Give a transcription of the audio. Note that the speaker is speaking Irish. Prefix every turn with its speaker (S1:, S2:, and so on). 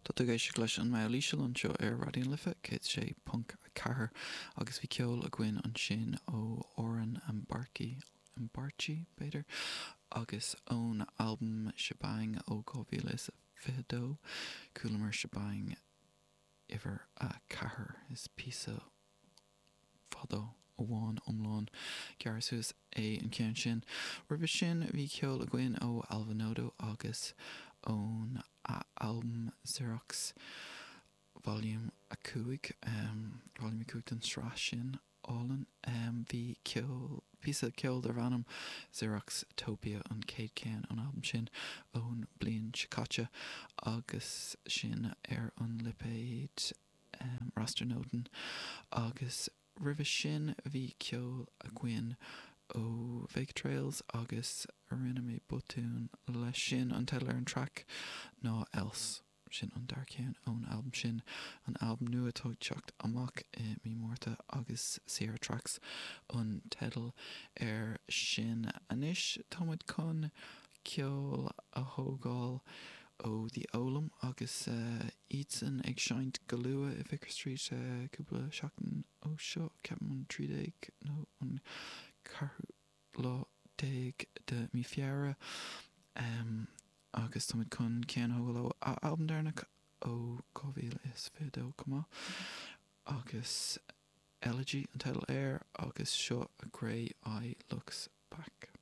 S1: Tá tú ag éisteacht leis an mBall Íseal anseo ar Raidió na Life 106.4 agus bhí ceol againn ansin ó Oren Ambarchi, Ambarchi b'fhéidir, agus ón albam Shebang ó 2022, chualamar Shebang uimhir a 4. Is píosa fada amháin iomlán gearrtha suas é an ceann sin. Roimhe sin bhí ceol againn ó Alva Noto agus ón albam Xerox Volume 5, Volume 5 den tsraith sin álainn. Bhí ceol, píosa ceoil darbh ainm Xerox Topia an chéad cheann ón albam sin ón bliain seo caite agus sin ar an lipéad Raster-Noton agus roimhe sin bhí ceol againn ó Vega Trails agus rinne mé botún leis sin, an teideal ar an traic ná Else, sin an dara ceann ón albam sin, an albam nua atá ag teacht amach i mí Márta agus Sierra Tracks an teideal air sin. Anois tá muid chun ceol a thógáil ó The Olam agus iadsan ag seinnt go luath i Vicar Street cúpla seachtain ó seo, ceapaim an 13 nó an 14ú lá de mí Feabhra. Agus táimid chun ceann a thógáil ó a albam deireanach ó 2022 chomh maith agus Elegy an teideal air agus seo A Grey Eye Looks Back.